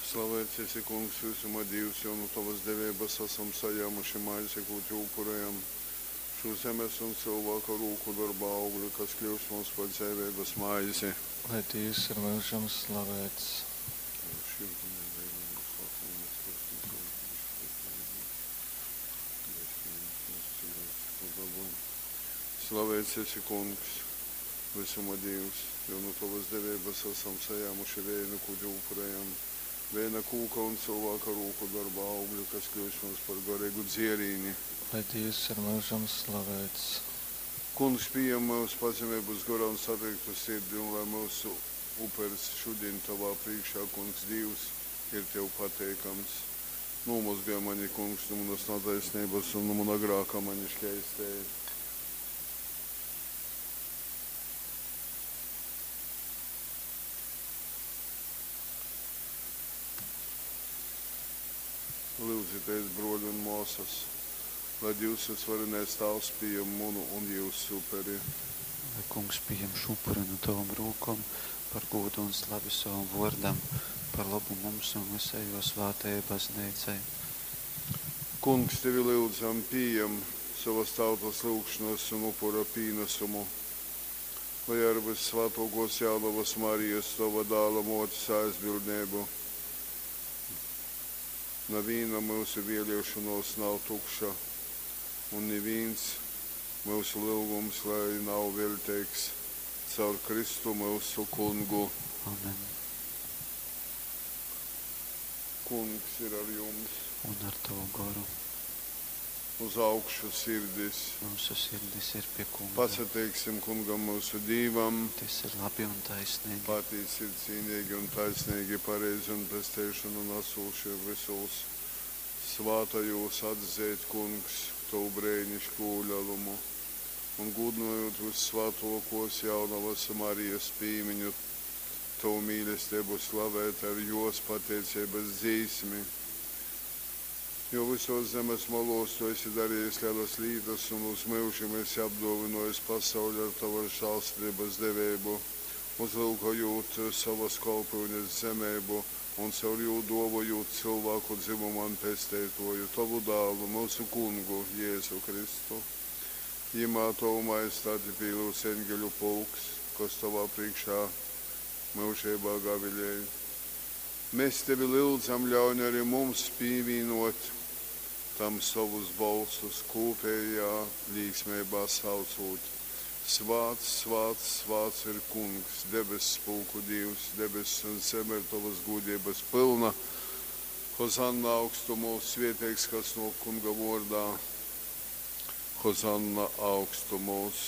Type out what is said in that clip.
Slaveits esi, Kungs, vysuma Dīvs, jo nu tovas deveibas asam sajāmuši maizi, kū tev upurejam, šū zemes un cylvāka rūku dorba augli, kas kļyus mums par dzeiveibas maizi. Lai Dīvs ir myužam slaveits. Slaveits esi, Kungs, vysuma Dīvs, jo nu tovas deveibas asam sajāmuši veinu, kū tev upurejam, veina kūka un cylvāka rūku dorba augli, kas kļyus mums par gareigu dzierīni. Lai Dīvs ir myužam slaveits. Kungs, pījem myus pazemeibas gorā un satriktu sirdi, un lai myusu upers šudiņ tovā prīškā, Kungs Dīvs, ir tev pateikams. Nūmozgoj mani, Kungs, nu munas nataisneibas un nu muna grāka mani škeistej. Lyudzitēs, bruoļi un muosys, lai Dīvs Vysvarenais Tāvs pījem munu un jyusu uperi. Lai Kungs pījem šū upuri nu tovom rūkom par gūdu un slavi sovam vōrdam, par lobu mums un vysai jō svātajai Bazneicai. Kungs, tevi lyudzam, pījem sovas tautas lyugšonas un upura pīnasumu, lai ar vyssvātōkōs Jaunovas Marijas, tova Dāla mōtes aizbildneibu, navīna myusu vēlēšonōs nav tukša, un nivīns myusu lyugums lai nav veļteigs. Caur Kristu myusu Kungu. Amen. Kungs ir ar jums. Un ar tovu goru. Uz augšu sirdis. Myusu sirdis ir pie Kunga. Pasateiksim Kungam myusu Dīvam. Tys ir labi un taisneigi. Patīsi ir cīneigi un taisneigi, pareizi un pesteišonu nasūši vysūs svātajūs atzeit, Kungs, tovu breiniškū lelumu. Un gūdynojūt vyssvātōkōs Jaunovas Marijas pīmiņu, tovu mīlesteibu slavēt ar jōs pateiceibas dzīsmi. Jo vysōs zemes molōs tu esi darejis lelas lītas un uz myužim esi apdōvynōjis pasauli ar tovas žālsirdeibas deveibu, uzlyukojūt sovas kolpyunes zemeibu un caur jū dōvojūt cylvāku dzymumam Pesteitōju, tovu Dālu, myusu Kungu Jezu Kristu. Jymā tovu majestati pīlyudz eņgeļu pulks, kas tovā prīškā myužeibā gavilej. Mes tevi lyudzam, ļauņ ari mums pīvīnōt tam sovus bolsus, kūpejā līksmeibā saucūt, Svāts, svāts, svāts ir Kungs, debesspulku Dīvs, debess un zeme ir tovas gūdeibas pylna. Hozanna augstumūs, svieteigs, kas nōk Kunga vōrdā. Hozanna augstumūs.